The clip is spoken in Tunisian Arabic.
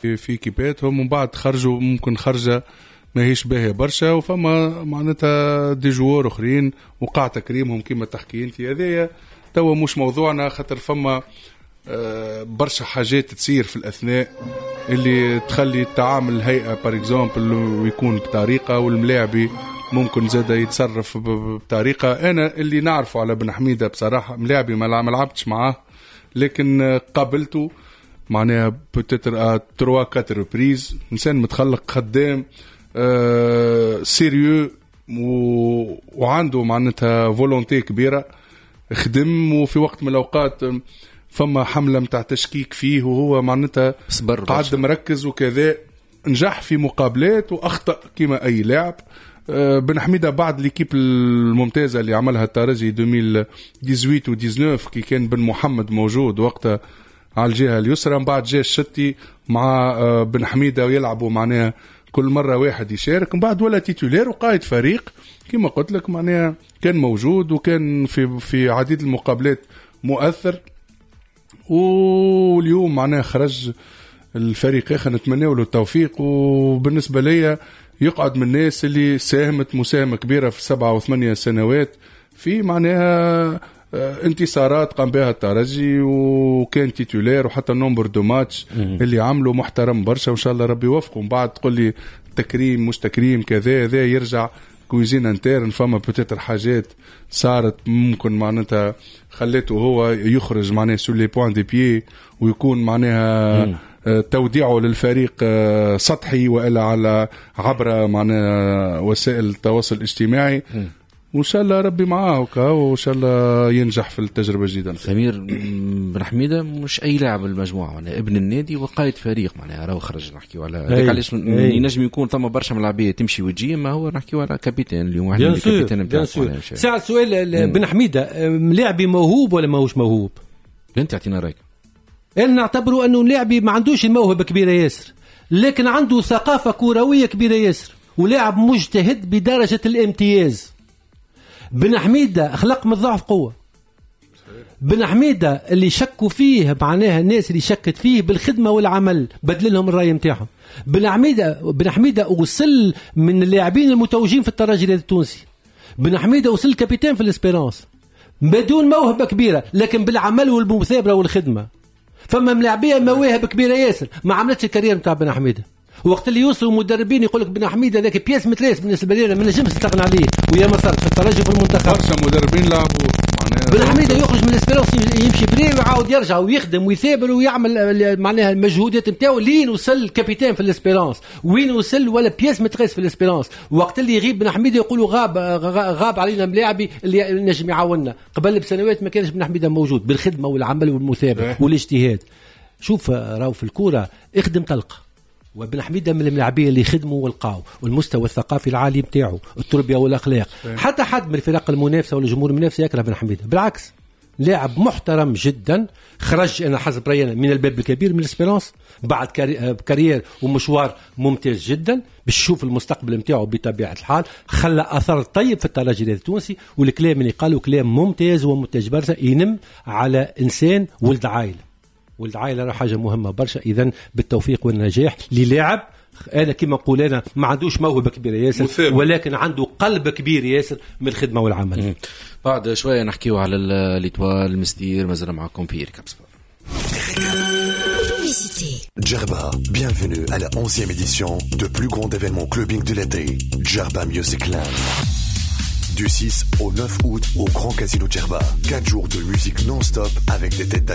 في équipe اتهم، ومن بعد خرجوا ممكن خرجه ماهيش باهيه برشا، وفما معناتها des joueurs اخرين وقع تكريمهم كما تحكي انت. هذايا توا مش موضوعنا، خاطر فما برشا حاجات تصير في الاثناء اللي تخلي التعامل الهيئة par exemple ويكون بطريقه، والملاعبي ممكن زاد يتصرف بطريقه. انا اللي نعرفه على بن حميده بصراحه، ملاعبي ما لعبتش معاه، لكن قابلته معناها peut-être à 3 4 reprises. انسان متخلق، خدام، sérieux وعنده معناتها volonté كبيره. خدم، وفي وقت من الاوقات فما حمله متاع تشكيك فيه، وهو معناتها صبر، قعد مركز وكذا، نجح في مقابلات واخطا كما اي لاعب. بن حميده بعد l'équipe الممتازة اللي عملها الترجي 2018 و 19، كي كان بن محمد موجود وقتها على الجهة اليسرى، من بعد جاء الشتي مع بن حميده ويلعبوا معناها كل مرة واحد يشارك، من بعد ولا titulaire وقائد فريق كما قلت لك، معناها كان موجود وكان في عديد المقابلات مؤثر. واليوم معناها خرج الفريق اخر، نتمنى له التوفيق. وبالنسبة لي يقعد من الناس اللي ساهمت مساهمة كبيرة في 7 و8 سنوات في معناها انتصارات قام بها الترجي، وكان titulaire، وحتى ال nombre de matchs اللي عملوا محترم برشا، وان شاء الله ربي يوفقه. ومن بعد تقول لي تكريم مش تكريم كذا، هذا يرجع cuisine interne. فما peut-être حاجات صارت ممكن معناتها خليته هو يخرج معناها sur les points de pied، ويكون معناها توديعه للفريق سطحي والا على عبر معناها وسائل التواصل الاجتماعي. وان شاء الله ربي معاه، وان شاء الله ينجح في التجربة الجديده. سمير، بن حميده مش اي لاعب المجموعه، معناها ابن النادي وقائد فريق، معناها راهو خرج. نحكيو على هذاك علاش ينجم يكون ثم برشا ملاعبيه تمشي وتجي، ما هو نحكيو على capitaine اليوم، واحد من ال capitaines نتاعو. ساعة السؤال، بن حميده ملاعبي موهوب ولا ماهوش موهوب؟ انت اعطينا رايك. انا نعتبره انه لاعبي ما عندوش الموهبة كبيرة ياسر، لكن عنده ثقافة كروية كبيرة ياسر، ولاعب مجتهد بدرجة الامتياز. بن حميده خلق من الضعف قوه. بن حميده اللي شكوا فيه، معناها الناس اللي شكت فيه، بالخدمة والعمل بدل لهم الراي نتاعهم. بن حميده وصل من اللاعبين المتوجين في الترجي التونسي. بن حميده وصل capitaine في l'Espérance بدون موهبة كبيره، لكن بالعمل والمثابرة والخدمه. فما ملاعبيه مواهب كبيرة ياسر ما عملتش ال carrière نتاع بن حميده. وقت اللي يوصلوا مدربين يقول لك بن حميده هذاك pièce maîtresse بالنسبة لي، ما نجمش نستغنى عليه، ويا ما صارت في الترجي في المنتخب. برشا مدربين لعبوا. بن حميده يخرج من l'Espérance يمشي prêt ويعاود يرجع ويخدم ويثابر ويعمل معناها المجهودات نتاعو لين وصل capitaine في l'Espérance، وين وصل ولا pièce maîtresse في l'Espérance. وقت اللي يغيب بن حميده يقولوا غاب غاب علينا ملاعبي اللي نجم يعاوننا. قبل بسنوات ما كانش بن حميده موجود. بالخدمة والعمل والمثابرة والاجتهاد. شوف، راهو في الكورة اخدم تلقى، وابن حميده من الملاعبيه اللي خدموا ولقاو، والمستوى الثقافي العالي نتاعو، التربية والاخلاق. حتى حد من الفرق المنافسة ولا الجمهور المنافس يكره بن حميده، بالعكس لاعب محترم جدا. خرج انا حسب رايي من الباب الكبير من l'Espérance بعد carrière ومشوار ممتاز جدا، باش تشوف المستقبل نتاعو. بطبيعة الحال خلى اثر طيب في الترجي التونسي، والكلام اللي قالوا كلام ممتاز وممتاز برشا، ينم على انسان ولد عائله. ولد عائلة راه حاجة مهمة برشا. اذا بالتوفيق والنجاح للاعب. انا كما نقول انا ما عندوش موهبة كبيرة ياسر مثابر، ولكن عنده قلب كبير ياسر من الخدمة والعمل. بعد شوية نحكيو على l'Étoile المستير. مازال معكم في Récap Sport. Djerba, bienvenue à la 11e édition de plus grand événement clubbing de l'été, Djerba Music Land. Du 6 au 9 août au Grand Casino Djerba. 4 jours de musique non-stop avec des têtes